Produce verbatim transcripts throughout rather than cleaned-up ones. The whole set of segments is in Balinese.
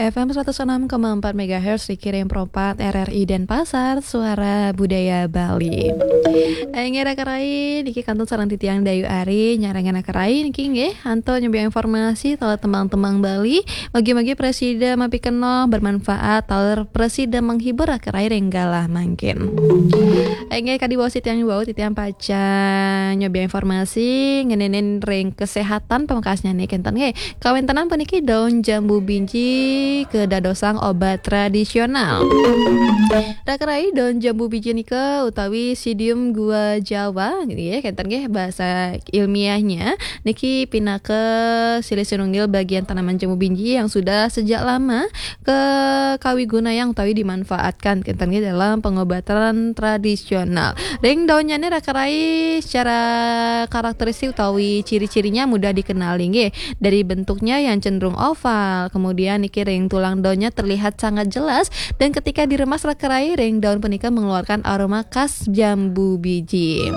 F M seratus enam koma empat megahertz, Riki Rempro empat, R R I Denpasar, Suara Budaya Bali. Inggih raka rai, niki kantun sareng titiang Dayu Ari, nyarengin raka rai niki nggih, antuk nyobiahang informasi taler tembang-tembang Bali, mugi-mugi prasida mapikenoh, bermanfaat, taler prasida menghibur raka rai ring galah mangkin. Inggih kadi wau titiang wau, titiang pacang nyobiahang informasi ngenénin ring kesehatan pamekasnyané kénten nggih. Kawéntenan puniki daun jambu biji kadadosang obat tradisional. Raka rai, daun jambu biji nika utawi Psidium guajava nggih, kénten nggih basa ilmiahnya, niki pinaka silih sinunggil bagian tanaman jambu biji yang sudah sejak lama ke kawigunayang utawi dimanfaatkan kénten nggih dalam pengobatan tradisional. Ring daunnya nih raka rai, secara karakteristik utawi ciri-cirinya mudah dikenali nggih. Dari bentuknya yang cenderung oval, kemudian niki ring tulang daunnya terlihat sangat jelas, dan ketika diremas raka rai, ring daun punika mengeluarkan aroma khas jambu biji.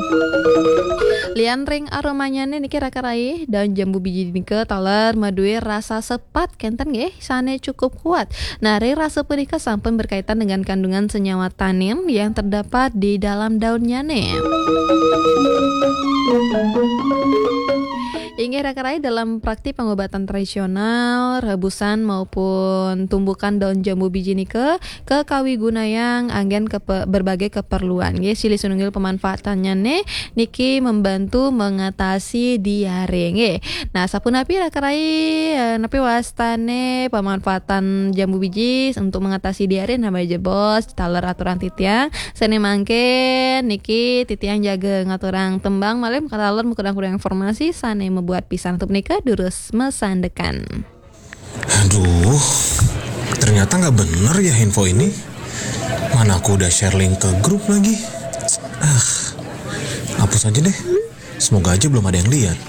Lian ring aromanya nih niki raka rai, daun jambu biji nika taler madué rasa sepat kénten nggih, sané cukup kuat. Nah, ring rasa punika sampun berkaitan dengan kandungan senyawa tanin yang terdapat di dalam daunnya nih. Inggih raka rai, dalam praktik pengobatan tradisional, rebusan maupun tumbukan daun jambu biji nika kekawigunayang anggén kepe-, berbagai keperluan. Nggih, silih sinunggil pemanfaatannya nih niki membantu mengatasi diare nggih. Nah, sapunapi raka rai, eh, napi wastané pemanfaatan jambu biji untuk mengatasi diare, napa jebos taler aturan titiang. Sané mangkin niki titiang jaga ngaturang tembang malih, taler makudang-kudang informasi sané mabuat pisan. Antuk punika durus masandekan. Aduh, ternyata nggak bener ya info ini. Mana aku udah share link ke grup lagi. Ah, hapus aja deh. Semoga aja belum ada yang lihat.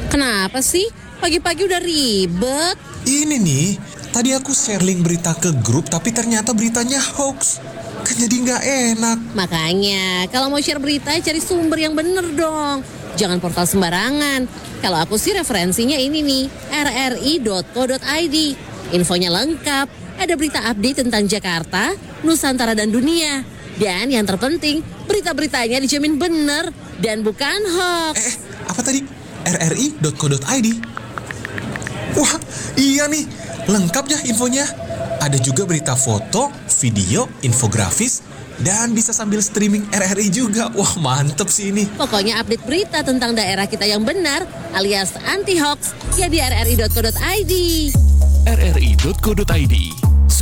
Kenapa sih? Pagi-pagi udah ribet. Ini nih, tadi aku share link berita ke grup tapi ternyata beritanya hoax. Kan jadi nggak enak. Makanya, kalau mau share berita, cari sumber yang bener dong. Jangan portal sembarangan. Kalau aku sih referensinya ini nih, R R I dot co dot I D. Infonya lengkap, ada berita update tentang Jakarta, Nusantara dan dunia. Dan yang terpenting, berita-beritanya dijamin bener dan bukan hoax. Eh, apa tadi? R R I dot co dot I D. Wah, iya nih, lengkap ya infonya. Ada juga berita foto, video, infografis, dan bisa sambil streaming R R I juga. Wah, mantep sih ini. Pokoknya update berita tentang daerah kita yang benar alias anti hoax ya di R R I dot co dot I D. R R I dot co dot I D.